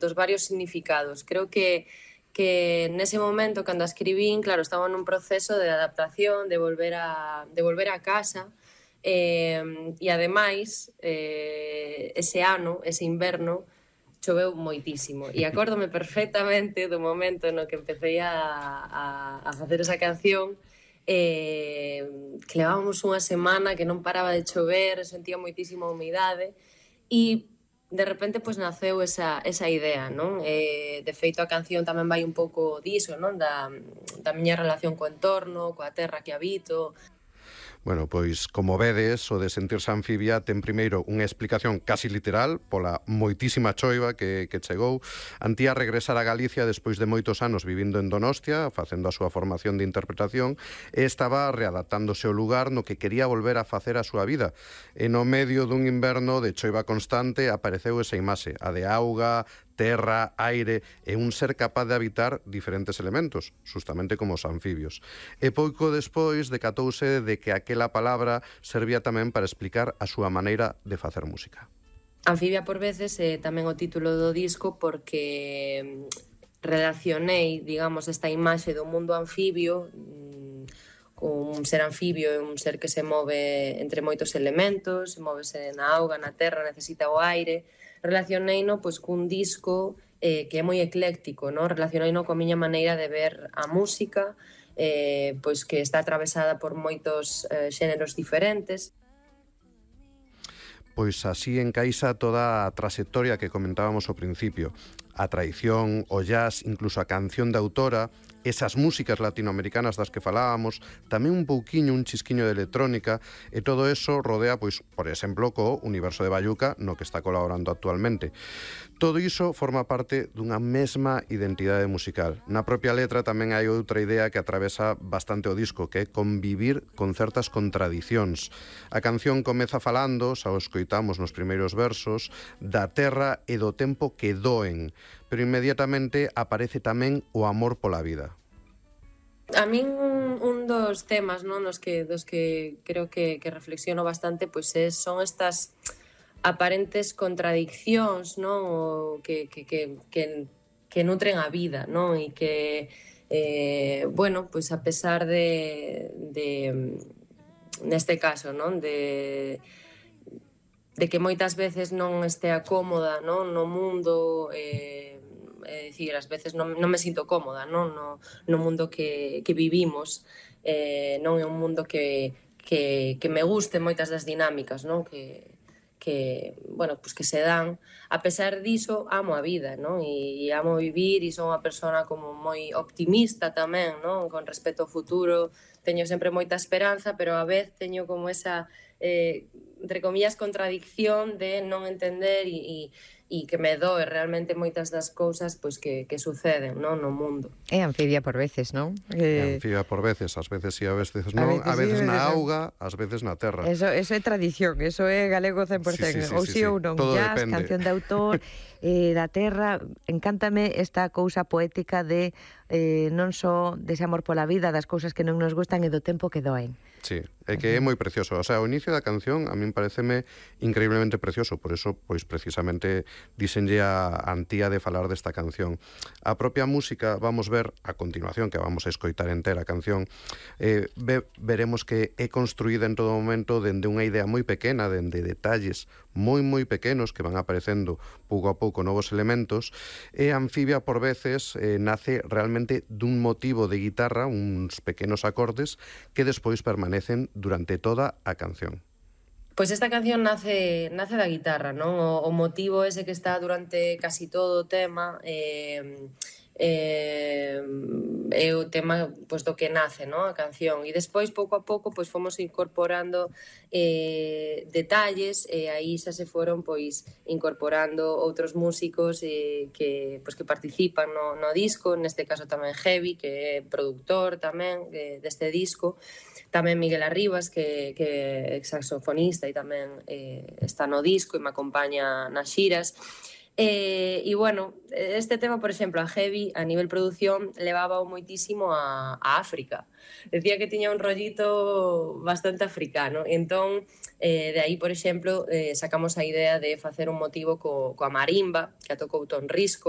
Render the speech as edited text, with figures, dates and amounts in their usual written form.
dos varios significados. Creo que nese momento, cando a escribín, claro, estaba nun proceso de adaptación, de volver a casa, e ademais, ese ano, ese inverno, choveu moitísimo. E acórdome perfectamente do momento no que empecé a facer esa canción, que levábamos unha semana que non paraba de chover, sentía moitísima humidade, e de repente pois naceu esa idea, non? De feito a canción tamén vai un pouco diso, non? Da miña relación co entorno, coa terra que habito. Bueno, pois, como vedes, o de sentirse anfibia ten primeiro unha explicación casi literal pola moitísima choiva que chegou. Antía regresar a Galicia despois de moitos anos vivindo en Donostia, facendo a súa formación de interpretación, e estaba readaptándose ao lugar no que quería volver a facer a súa vida. E no medio dun inverno de choiva constante apareceu esa imaxe, a de auga, terra, aire e un ser capaz de habitar diferentes elementos, justamente como os anfibios. E pouco despois decatouse de que aquela palabra servía tamén para explicar a súa maneira de facer música. Anfibia por veces é tamén o título do disco porque relacionei, digamos, esta imaxe do mundo anfibio con un ser anfibio, é un ser que se move entre moitos elementos, se móvese na auga, na terra, necesita o aire. Relacioneino pois cun disco que é moi ecléctico, non? Relacioneino coa miña maneira de ver a música, pois que está atravesada por moitos xéneros diferentes. Pois así encaixa toda a trayectoria que comentábamos ao principio. A tradición, o jazz, incluso a canción de autora, esas músicas latinoamericanas das que falábamos, tamén un pouquiño, un chisquiño de electrónica, e todo eso rodea, pois, por exemplo, co Universo de Bayuca, no que está colaborando actualmente. Todo iso forma parte dunha mesma identidade musical. Na propia letra tamén hai outra idea que atravesa bastante o disco, que é convivir con certas contradicións. A canción comeza falando, xa o escoitamos nos primeiros versos, da terra e do tempo que doen, pero inmediatamente aparece tamén o amor pola vida. A min un dos temas, non, dos que creo que reflexiono bastante, pois son estas aparentes contradiccións, non, o que nutren a vida, non, e que bueno, pois a pesar de neste caso, non, de que moitas veces non estea cómoda, non, no mundo, é dicir, ás veces non me sinto cómoda, non, no mundo que vivimos, non é un mundo que me guste moitas das dinámicas, non, bueno, pues que se dan. A pesar diso, amo a vida, non? E amo vivir e son unha persona como moi optimista tamén, non? Con respecto ao futuro, teño sempre moita esperanza, pero a vez teño como esa, entre comillas, contradicción de non entender e que me doe realmente moitas das cousas pois que suceden, non, no mundo. É anfibia por veces, non? É anfibia por veces, ás veces sí, a veces non, a veces na auga, ás veces na terra. Eso é tradición, eso é galego 100%, ou sí ou non, jazz, canción de autor, da terra. Encántame esta cousa poética de non só dese amor pola vida, das cousas que non nos gustan e do tempo que doen. Sí, é que é moi precioso. O sea, o inicio da canción a min pareceme increíblemente precioso, por eso, pois precisamente disenlle a Antía de falar desta canción. A propia música, vamos ver a continuación, que vamos a escoitar entera a canción, veremos que é construída en todo momento dende unha idea moi pequena, dende detalles moi pequenos que van aparecendo pouco a pouco novos elementos, e Anfibia por veces nace realmente dun motivo de guitarra, uns pequenos acordes que despois permanecen durante toda a canción. Pois esta canción nace da guitarra, non? O motivo ese que está durante casi todo o tema é o tema pois, do que nace, non? A canción. E despois, pouco a pouco, pois fomos incorporando detalles e aí xa se foron pois incorporando outros músicos que participan no disco, neste caso tamén Heavy, que é produtor tamén deste disco, tamén Miguel Arribas, que é saxofonista e tamén está no disco e me acompaña nas xiras. E, bueno, este tema, por exemplo, a Heavy, a nivel produción, levaba moitísimo a África. Decía que tiña un rollito bastante africano. Entón, de aí, por exemplo, sacamos a idea de facer un motivo coa marimba, que a tocou Ton Risco,